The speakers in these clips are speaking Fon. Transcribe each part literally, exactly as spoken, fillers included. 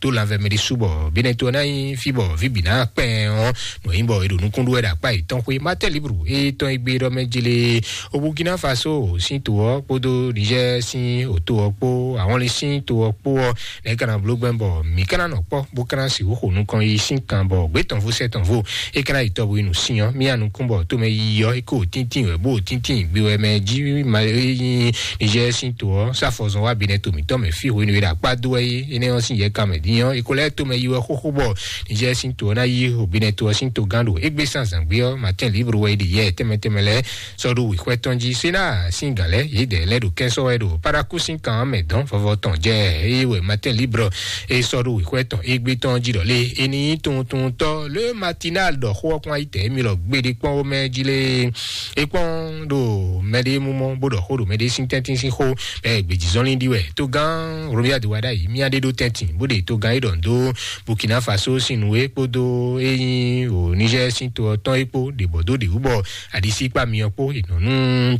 ɖó lanvɛ mɛ ɖésú bɔ bínɛ́ to ɔ́ ná nyí fí bɔ fí bǐ ná kpɛn ɔ́, nɔ nyí bɔ è ɖo nukún ɖó wɛ ɖo akpá yětɔn xwé. Mátɛ́ Libru e tɔn e gbe ɖɔ mɛ jele o Burkina Faso sín to ɔ́ kpódó Niger sín òto ɔ́ kpó, àwọn lé sín to ɔ́ kpó ɔ́, nɛ̌ ka ná bló gbɛn bɔ mǐ ka ná nɔ kpɔ́ bó ka ná sixú xo nukɔn yi sín kan bɔ gbě tɔn vo sɛ́ tɔn vo é ka ná yi tɔ bo yi nǔ sin ɔ́, mía nukún bɔ tomɛ yiyi ɔ́ é ko tíntín wɛ bó tíntín gbe wɛ mɛ jí ma é nyí Niger sín to ɔ́ sáfɔzɔn wá binɛ to mǐtɔn mɛ fí hwenu e ɖo akpá dó wɛ é énɛ́ ɔ́ sín yɛ kan mɛ dín ɔ́ é ko lɛ́ tomɛ yi wɛ xóxó bɔ Niger sín to ɔ́ ná yí hobinɛ to ɔ́ sín togán ɖo égbé sín azǎngbé ɔ́, Martin Libre wɛ é ɖi yɛ tɛnmɛ tɛnmɛ lɛ́ɛ sɔ́ ɖó wěxwɛ́ tɔn jí. Sénat sín gǎn lɛ́ɛ yědɛɛ lɛ́ɛ ɖo kɛ́n sɔ́ wɛ ɖo Paraku sín kan ɔ́ mɛ dɔn vɔvɔ tɔn jɛ. Eye wɛ Martin Libre e sɔ́ ɖó wěxwɛ́ tɔn égbé tɔn jí ɖɔ lé é ní nyí tunwuntunwuntɔ́ Le Matinal ɖɔ xó ɔ́ kpɔ́n ayí tɛ émí lɔ gbeɖé kpɔ́n wó mɛ jí lé. É kpɔ́n ɖo mɛɖé mú mɔ bó ɖɔ xó ɖo mɛɖé sín tɛ́ntin sín xó, bɔ gbějízɔnlin ɖi wɛ. Togán Romia de wa ɖ'ayǐ mía ɖé ɖó tɛ́ntin bó ɖe togán é ɖɔ dó Burkina Faso sín nǔ é kpódó é nyí o Niger sín to ɔ́ tɔn é kpó ɖě bɔ dó ɖě wú bɔ aɖisí kpá myɔ kpó è nɔ nú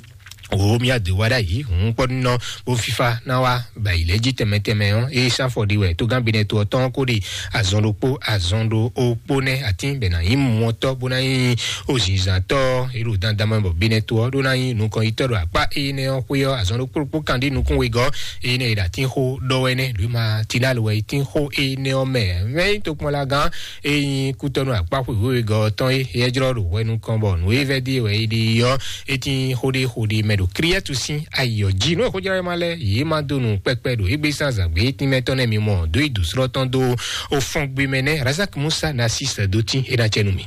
wò mía dó wá ɖ'ayǐ hǔn kpɔ́ nɔ bó fífá ná wá bɔ ayǐ lɛ́ jí tɛnmɛ tɛnmɛ ɔ́, é sán afɔ ɖi wɛ togán Benɛto ɔ́ tɔn ko ɖi azɔn ɖokpó azɔn ɖo okpó nɛ́ atín bɛ ná nyí mɔtɔ́ bó ná nyí ozǐnzǎntɔ́ é ɖo dandan mɛ bɔ Benɛto ɔ́ ɖó ná nyí nukɔnyitɔ́ ɖo akpá énɛ́ ɔ́ xwé ɔ́. Azɔn ɖokpó ɖokpó kan ɖi nukún wegɔ́ énɛ́ è ɖo atín xó ɖɔ wɛ nɛ́ Louis Matinal wɛ é tín xó énɛ́ ɔ́ mɛ. Mɛ nyí tokpɔnlagán é nyí kútɔ́nú akpá xwé wěwegɔ́ ɔ́ tɔn é é jlɔ́ ɖo hwɛ nukɔn bɔ nǔ e vɛ́ ɖi wɛ é ɖi ɔ́ é tín xó ɖé xó ɖé mɛ ɖo Kriɛ́tu sín ayǐ ɔ́ jí. Nú è xójlɔ́ ma lɛ́ɛ yě ma dó nǔ kpɛkpɛ ɖo égbé sín azǎngbé tínmɛ tɔn nɛ́ mi mɔ dó yi dǔsrɔ́ tɔn dó o fɔ́n gbe mɛ nɛ́ Razak Musa ná sí sɛ́ dó tín é ná cɛ nú mi.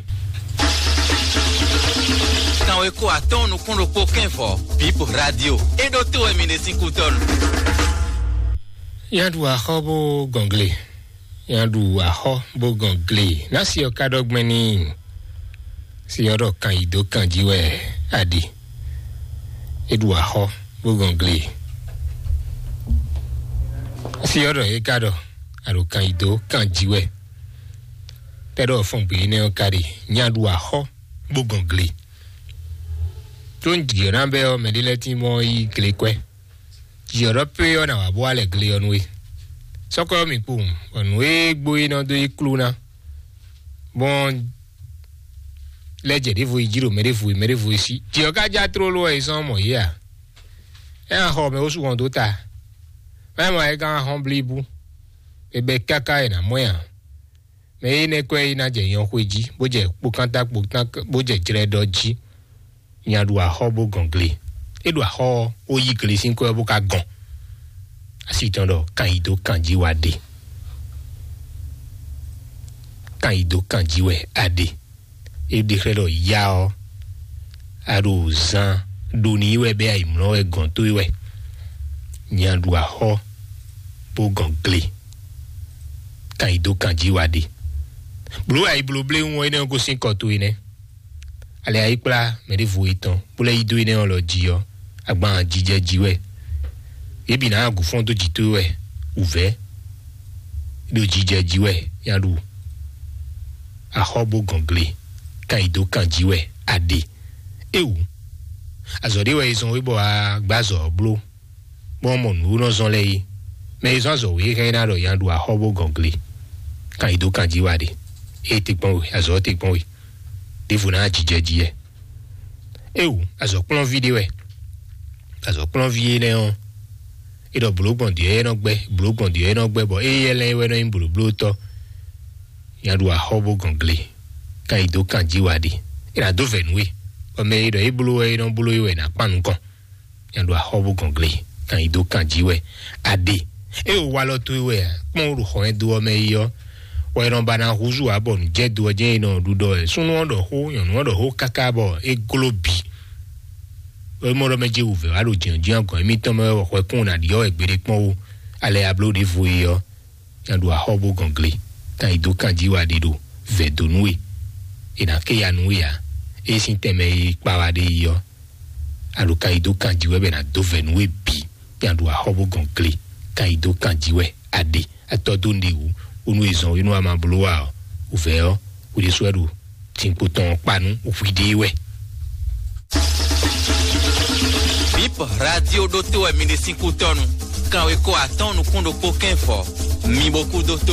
Kanweko atɔ́ɔ́n nukún ɖokpó kɛ́nvɔ Bip Radio é ɖó tó wɛ mi ɖe sín kútɔ́nu. Yá ɖu axɔ́ bó gɔngle. Yá ɖu axɔ́ bó gɔngle. Ná si ɔ́ ka ɖɔ gbɛn ní. Si ɔ́ ɖɔ kan yi dó kan jí wɛ aɖi. É ɖu axɔ́ bó gɔngle. Si ɔ́ ɖɔ é ka ɖɔ aɖo kan yi dó kan jí wɛ. Tɛ ɖɔ fɔn gbé énɛ́ ɔ́ ka ɖi. Nya ɖu axɔ́ bó gɔngle. Tó ń jǐ ɔ́ ná bɛ ɔ́, mɛ ɖé lɛ́ɛ tín mɔ yí gle kwɛ́. Jǐ ɔ́ ɖɔ pé ɔ́ nà wá bó wá lɛ gle ɔ́ nú we. Sɔ́kɔ ɔ́ mi kpowun, bɔ nǔ e gbo é nɔ dó yi klú ná. Bɔn lɛ́ jɛ ɖěvo yi jí ɖo mɛ ɖěvo yi mɛ ɖěvo yi sí. Jǐ ɔ́ ka já tlóló wɛ yi sɔ́n mɔ yě a? É ná xɔ mɛ wosú hɔn dó ta. Mɛ mɔ é gán hɔn blíbú. È bɛ káká è nǎ mɔ ɛ ǎ. Mɛ énɛ́ kɔ́ é ná jɛ nyɔxwe jí, bó jɛ kpokánta kpotán, bó jɛ jlɛ́ɖɔ jí. Nya ɖu axɔ́ bó gɔn gle. É ɖo axɔ́ ɔ́, ó yí gle sín kɔ́ ɔ́ bó ka gɔn. Asi tɔn ɖɔ kan yi dó kan jí wá ɖe. Kan yi dó kan jí wɛ a ɖe. É ɖe xlɛ́ ɖɔ ya ɔ́, a ɖo zan ɖo ní wɛ bɛ ayǐmlɔ wɛ gɔn tó wɛ. Nya ɖu axɔ́ bó gɔn gle. Kan yi dó kan jí wá ɖe. Blǒ ayǐ bló bléwún ɔ́, énɛ́ ɔ́ gosín kɔ towe nɛ́. Ale ayíkplá mɛ ɖěvo etɔn bó lɛ́ yí dó énɛ́ ɔ́ lɔ jí ɔ́, agban jijɛ jí wɛ. Yě bǐ ná agun fɔ́n dó jǐ towe wɛ wǔvɛ́ ɖo jijɛ jí wɛ nya ɖu. Axɔ́ bó gɔn gle, kan yi dó kan jí wɛ a ɖe. Éwu, azɔ̌ ɖé wɛ è zɔn wé bɔ a gbá azɔ̌ ɔ́ bló, bɔ mɔ nǔ nɔ zɔn lɛ́ɛ é. Mɛ e zɔn azɔ̌ wě hɛn ná ɖɔ nya ɖu axɔ́ bó gɔn gle, kan yi dó kan jí wá ɖe. Ée te kpɔ́n we, azɔ̌ ɔ́ te kpɔ́n we. Ɖěvo ná jijɛ jí yɛ. Éwu, azɔ̌kplɔ́nví ɖé wɛ. Azɔ̌kplɔ́nví énɛ́ ɔ́, é ɖɔ blǒ gbɔn dǐ ɔ́ é nɔ gbɛ́, blǒ gbɔn dǐ ɔ́ é nɔ gbɛ́, bɔ éyɛ́ lɛ́ɛ wɛ nɔ nyí blǒblótɔ́. Nya ɖu axɔ́ bó gɔn gle, kan yi dó kan jí wá ɖe. É ná dó vɛ̌ nú we, bɔ mɛ e ɖɔ é bló wɛ é nɔ bló é wɛ è nǎ kpan nukɔn. Nya ɖo axɔ́ bó gɔn gle, kan yi dó kan jí wɛ a ɖe. É o walɔ towe wɛ a, kpɔ́n wo ɖo xɔ ɛ do ɔ́ mɛ yi ɔ́, wɛ nɔ ba ná húzú ǎ bɔ nǔjɛdo ɔ́ jɛ́n è nɔ ɖuɖɔ wɛ. Súnnu ɔ́ ɖɔ xó, nyɔ̌nu ɔ́ ɖɔ xó káká bɔ é gló bǐ. É mɔ ɖɔ mɛ jɛ wǔvɛ́ wá ɖo jǐnjɔ́n agɔ̌n émítɔn mɛ wɛ bɔ xwɛkún ná ɖiɔ wɛ gbeɖé kpɔ́n ó. Alɛ ya bló ɖěvo é ɔ́, nya ɖo axɔ́ bó gɔn gle, kan yi dó kan jí wá ɖe ɖo vɛ̌ dó nú we. È nǎ ké ya nú we ǎ. É sín tɛnmɛ e kpa wá ɖe yi ɔ́, a ɖo kan yi dó kan jí wɛ bɔ è nǎ dó vɛ̌ nú we bǐ. Nya ɖo axɔ́ bó gɔn gle, kan yi dó kan jí wɛ a ɖe. Atɔ́ dó nɖe wǔ, bónú è zɔn we nú a ma bló wa ɔ́, wǔvɛ́ ɔ́, hwi ɖésú wɛ ɖo tinkpo tɔn ɔ́ kpa nú hwi ɖée wɛ. Bip Radio ɖótó wɛ mi ɖe sín kútɔ́nu. Kanweko atɔ́ɔ́n nukún ɖokpó kɛ́n fɔ. Mi bo kú dótó